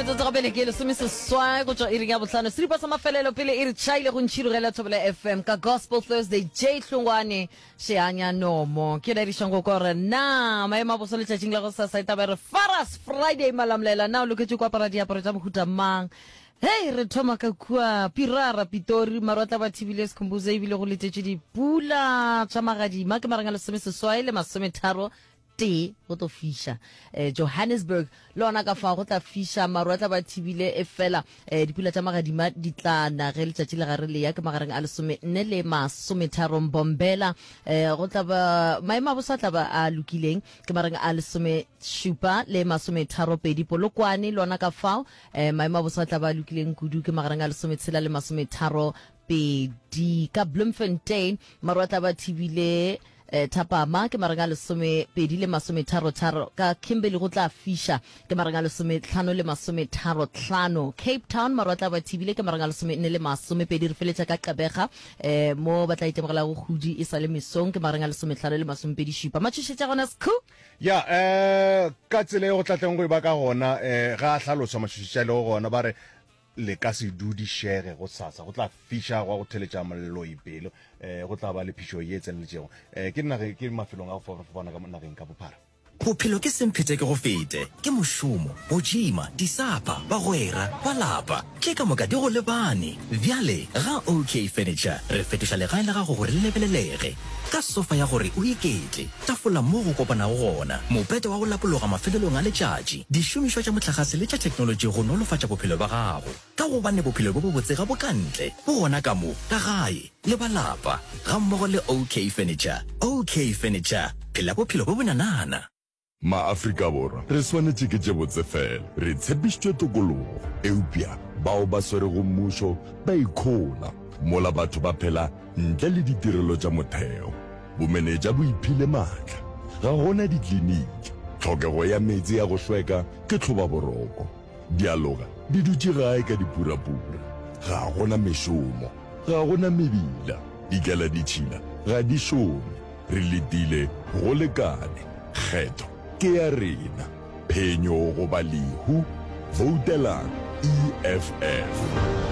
Metsotso gabele ke lesomeseswai go tšwa iring ya bohlano seripa sa mafelelo pele e re tšhaile go ntšhirogela Thobela FM ka Gospel Thursday J Hlongwane Sheanya Nomo ke laedišang go kwa gore na maemo a boso letšatšing la go sasa e taba e re Faras Friday Malamlela na o loketše ko apara diaparo tša mohuta mang Hei re thoma ka kua Pirara Pitori maru a tla ba thibile Sikhumbuzo ebile go letetšwe dipula tša magadima ke mareng a lesomeseswai le masometharo tee go tlo fiša eh, Johannesburg le ona ka fao go tla fiša maru a tla ba thibile e fela eh, dipula tša magadima di tla na ge letšatši le gare le ya ke magareng a lesome nne le masometharo Mbombela eh, go tla ba maemo a bosa tla ba a lokileng ke magareng a lesome šupa le masometharo pedi Polokwane le ona ka fao eh, maemo a bosa tla ba a lokileng kudu ke magareng a lesometshela le masometharo pedi ka Bloemfontein maru a tla ba thibile Eh, thapama ke mareng a lesomepedi le masometharo-tharo ka Kimberley go tla fiša ke mareng a lesometlhano le masometharo-tlhano Cape Town maru a tla ba thibile ke mareng a lesomenne le masomepedi re feletša ka Gqeberha eh, mo ba tla itemogelago kgudi e sa le mesong ke mareng a lesometlhano le masomepedi šupa matšhošetša gona sekhu Ya, eh, ka tsela e go tlatleng go e ba ka gona, eh, ga a hlaloswa matšhošetša a lego gona, ba re Le ka se dudišege gosasa, go tla fiša gwa go theletša moloi pelo, eh, go tla ba le phišo ye e tseneletšego. Eh, ke nageng, ke mafelong a go fapafapana ka mo nageng ka bophara. Bophelo ke semphete ke go fete, ke mošomo, go tšima, disapa, bagwera, ba lapa, tše ka moka di go lebane. Bjale ga OK Furniture re fetoša legae la gago gore le lebelelege. Ka sofa ya gore o iketle, tafola mo go kopanago gona, mopete wa go lapologa mafelelong a letšatši, dišomišwa tša mohlagase le tša theknolotši go nolofatša bophelo bja gago. Ka gobane bophelo bjo bobotse ga bo ka ntle, bo gona ka mo, ka gae, le ba lapa, gammogo le OK Furniture. OK Furniture, phela bophelo bjo bonanana. Ma-Afrika Borwa re swanetše ke tše botse fela. Re tshepišitšwe tokologo, eupša bao ba swerego mmušo ba ikhola mola batho ba phela ntle le ditirelo tša motheo. Bomenetša bo iphile maatla. Ga go na dikliniki. Tlhokego ya meetse a go hlweka ke tlhobaboroko. Dialoga di dutše gae ka dipurapura. Ga go na mešomo. Ga go na mebila. Dikeladitšhila ga di šome. Re letile go lekane. Kgetho ke ya rena. Phenyo goba lehu. Voutelang EFF.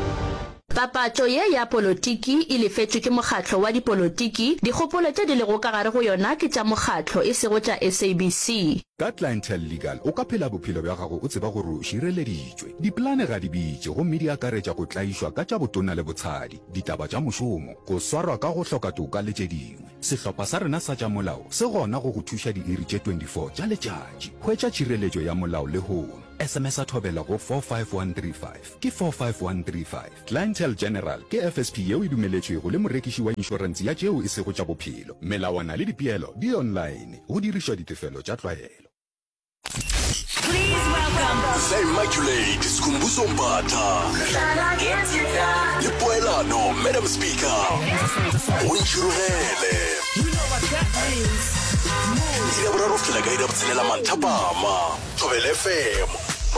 Papatšo ye ya polotiki e lefetšwe ke mokgatlo wa dipolotiki, dikgopolo tše di lego ka gare go yona ke tša mokgatlo e sego tša SABC. Ka Clientele Legal o ka phela bophelo bja gago o tseba gore o šireleditšwe. Dipolane ga di bitše gomme di akaretša go tlaišwa ka tša botona le botshadi, ditaba tša mošomo, go swarwa ka go hloka toka le tše dingwe. Sehlopha sa rena sa tša molao se gona go go thuša diiri tše 24 tša letšatši. Hwetša tšhireletšo ya molao lehono. SMS-a Thobela go 45135. Ke 45135. Clientele General ke FSP yeo e dumeletšwego le morekiši wa inšorense ya tšeo e sego tša bophelo. Melawana le dipeelo di online, go dirišwa ditefelo tša tlwaelo. Please welcome. The Immaculate Skhumbuzo Mbatha le Poelano Madam Speaker go ntšhirogele iri ya boraro go fihlela ka iri ya botshelela manthapama Thobela FM.